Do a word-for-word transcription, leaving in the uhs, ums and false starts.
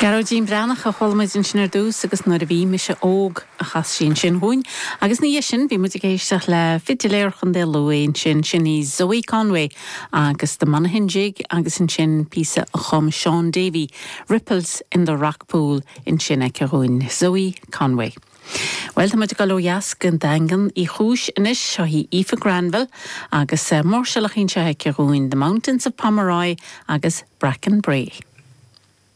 Gearóidín Breathnach a chuala muid ansin ar dtús agus nuair a bhí mise óg a chas sí ansin dúinn, agus ina dhiaidh sin bhí muid ag éisteacht le fidiléir Chontae Lú ansin sin í Zoe Conway agus The Monaghan Jig agus ansin píosa a chum Sean Davey, Ripples in the Rock Pool ansin aici dúinn Zoe Conway. Well tá muid ag dul ó dheas go Daingean Uí Chúis anois seo í Aoife Granville agus uh, máirseáil anseo aici dúinn The Mountains of Pomeroy agus Bracken Bray.